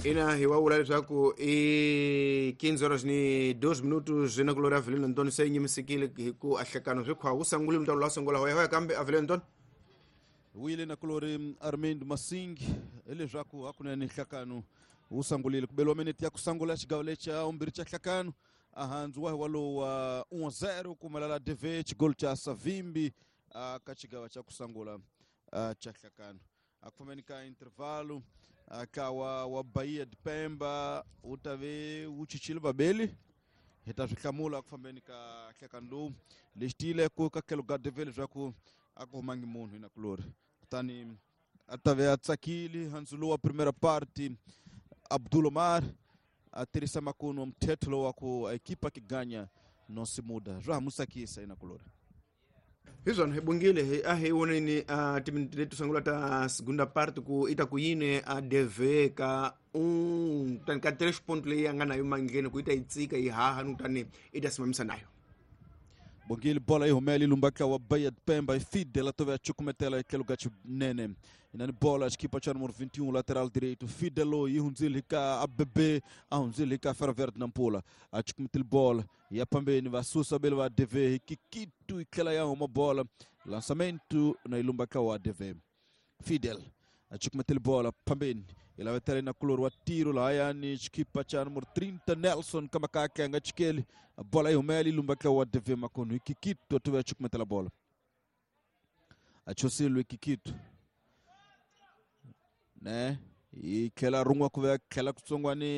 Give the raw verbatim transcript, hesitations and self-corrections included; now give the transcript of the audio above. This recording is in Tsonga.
Ina hi wa vula leswaku i quinze horas ni dos minutos na kulori Avelino Antônio se nyimisekile hi ku ahlekano swi khwa wu sangulile mutalo la sungula hoya hoya kambe Avelino Antônio wile na kulori Armindo Masingi hileswaku hakunene nhlakano wu sangulile ku beliwa minete ya ku sangula xigawo lexa vumbirhi xa nhlakano ahandzu wa hi walowu wa um zero kumelala D V xigolo xa Savimbi uh, ka xigawa xa ku sangula uh, xa nhlakano. A ku fambeni ka intervalo uh, ka wa, wa Bahia de Pemba wu ta ve wu chichile vabeli hi ta swi hlamula ku fambeni ka nhlekano lowu. Lexi tiyile ku ka tlhelo ka D V leswaku a ku humangi munhu hi nakulori, kutani a ta ve a tsakile handzu lowu wa primera parte. Abdul Omar a tirhisa makunu wa mthetho lowu wa ku a equipa que ganha não se muda, swa ha mu tsakisa hi nakulori. Hi swona hi bungile hi a hi voneni a timinete leti sungula ta segunda parte ku ita ku yini a D V ka un tani ka tres ponto leyi a nga nayo mandleni ku yi ta yi tsika yi haha ni kutani i ta simamisa nayo. Bongile, bola yi humela yi lumba wa Bahia de Pemba, Fidel atove a chukumetela tlhelo ka xinene inani bola xikipa xa número vinte e um, lateral direito Fidelo yi hundzile ka A B B, a hundzile ka Ferroviário de Nampula, a chukumetile bola ya pambeni, va susa bele va D V hi Kikitu, yi tlhela ya huma bola, lançamento na ilumba ka wa D V. Fidel a chukumetile bola pambeni, ilavetela na kulori wa tiro lahayani xikipa xa número trinta Nelson Kamakake a nga chikeli, bola yi humela yi lumba ka wa D V makunu hi Kikitu, atove a chukumetela bola, a chosile Kikitu ne yi tlhela rin'we ku ve tlhela kutsongwani.